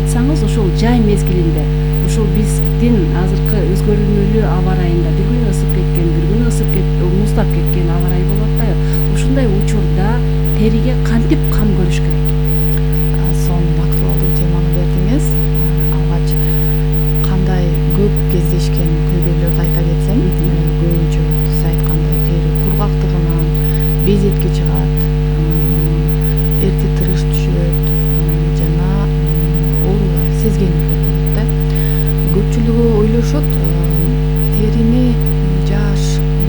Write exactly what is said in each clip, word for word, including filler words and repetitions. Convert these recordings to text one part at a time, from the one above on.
айтсаңыз, ошол жай мезгилинде ушул биздин азыркы өзгөрүлмөлүү аба ырайында бир күн ысып кеткен, бир күн ысып кеткен, муздап кеткен аба ырайы болуп атпайбы? Ушундай учурда териге кантип кам көрүш керек? Сонун актуалдуу теманы бердиңиз. Алгач кандай көп кездешкен көйгөйлөрдү айта кетсем, көбүнчө сиз айткандай тери кургактыгынан безетке чыгат, эрте тырыш түшөт жана оорулар, сезгендүүлөр болот да. Көпчүлүгү ойлошот, терини жаш,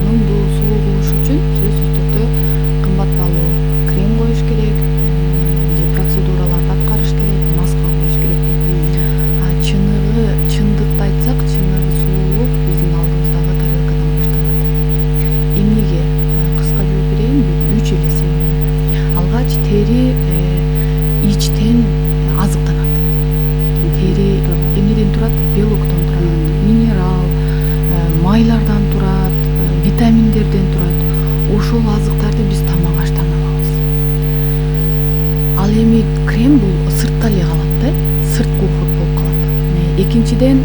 нымдуу, сулуу кылыш үчүн сөзсүз түрдө кымбат баалуу крем коюш керек, же процедураларды аткарыш керек, маска коюш керек. А чыныгы, чындыкты айтсак, чыныгы сулуулук биздин алдыбыздагы тарелкадан башталат. Эмнеге? Кыска жооп берейин, үч эле себеби. Алгач тери ичтен азыктанат. Тери эмнеден турат? Белоктон турат, минерал, майлардан турат, витаминдерден турат. Ошол азыктарды биз тамак аштан алабыз. Ал эми крем бул сыртта эле калат да, сырткы уход болуп калат. Экинчиден,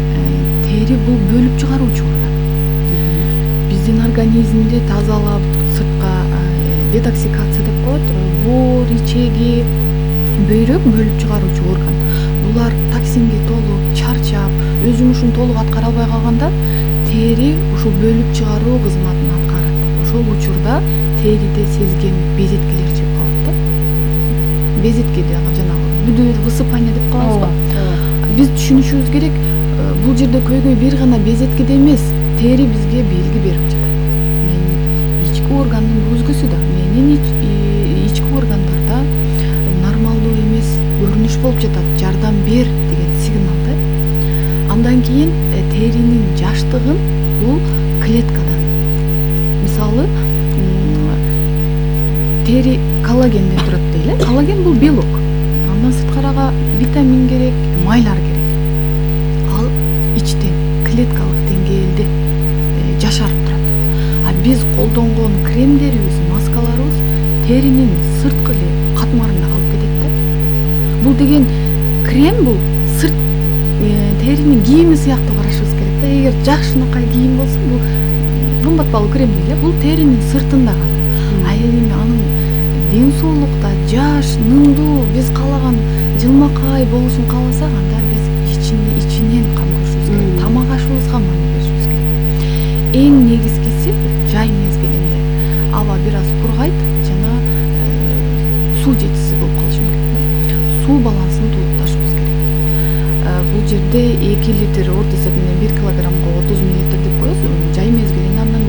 тери бул бөлүп чыгаруучу орган. Биздин организмди тазалап, сыртка детоксикация деп коет, боор, ичеги, бөйрөк бөлүп чыгаруучу орган. Булар токсинге толуп, чарчап, өз жумушун толук аткара албай калганда, тери ушул бөлүп чыгаруу кызматын аткарат. Ошол учурда териде сезген безеткелер чыгып калат да. Безеткеде жанагы бүдө высыпание деп коебузго. Биз түшүнүшүбүз керек, бул жерде көйгөй бир гана безеткеде эмес, тери бизге белги берип жатат. Менин ички органдын өзгөсү да, менин ички органдарда нормалдуу эмес көрүнүш болуп жатат, жардам бер деген сигнал да. Андан кийин теринин жаштыгын бул клеткадан. Мисалы, тери коллагенден турат дейле. Коллаген бул белок. Андан сырткарага витамин керек, майлар керек. Ал ичтен, клеткалык деңгээлде жашарып турат. А биз колдонгон кремдерибиз, маскаларыбыз теринин сырткы эле катмарында калып кетет да. Бул деген крем бул сырт теринин кийими сыяктуу карашыбыз керек да. Эгер жакшынакай кийим болсо, бул кымбат баалуу крем дейле, бул теринин сыртында гана. А эми анын ден соолукта жаш, нымдуу, биз каалаган жылмакай болушун кааласак, анда биз ичинен ичинен кам көрүшүбүз керек. Тамак ашыбызга маани беришибиз керек. Эң негизгиси жай мезгилинде аба бир аз кургайт жана суу жетишсиз болуп калышы мүмкүн. Суу балансын толукташыбыз керек. Бул жерде эки литр орто эсеп менен бир килограммга отуз миллилитр деп коебуз. Жай мезгилинде андан